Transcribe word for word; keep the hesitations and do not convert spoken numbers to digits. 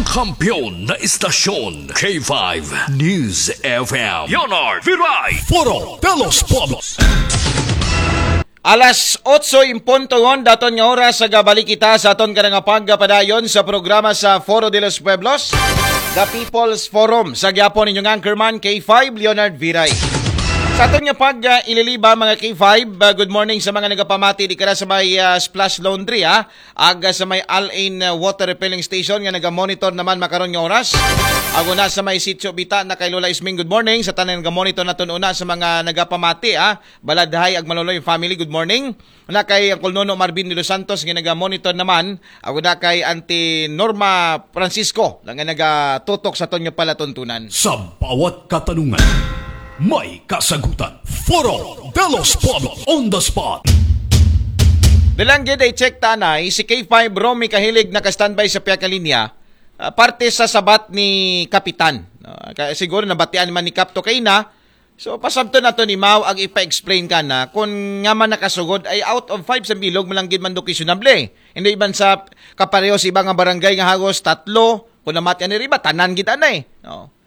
Kampiyon na istasyon, K five News F M. Leonard Viray. Foro de los Pueblos. Alas otso en punto yon, daton nga oras sa gabalik kita sa aton kanang pagpadayon sa programa sa Foro de los Pueblos, The People's Forum. Sa gyapon inyong anchorman, K five Leonard Viray. Sa aton nga pag uh, ililiba, mga K five, uh, good morning sa mga nagapamati di kara sa may uh, Splash Laundry, ha? Aga sa may Al-Ain uh, water refilling station nga naga-monitor naman makaron nga oras. Ako na sa may Sitio Bita na kay Lola Isming, good morning. Sa tanan nga monitor naton una sa mga nagapamati, ha. Baladhay ag Maloloy family, good morning. Na kay Uncle Nono Marvin de los Santos nga naga-monitor naman. Ako na kay Auntie Norma Francisco lang nga nagatutok sa aton nga palatuntunan. Sa bawat katanungan, may kasagutan. Foro de los Pueblos on the spot. Dalang gid i-check ta anay, si K five Romy Kahilig naka-standby sa pihak nga linya, ah, parte sa sabat ni Kapitan. Ah, ka-, siguro nabatian man ni Kap to kay na. So, pasabton nato ni Mau ag ipa-explain kana kung nga man nakasugod ay out of five sa bilog, malanggid man do questionable. Hindi iban sa kapareho sa iba nga barangay nga hagos tatlo, kung namatian ni riba, tanan gid anay. No?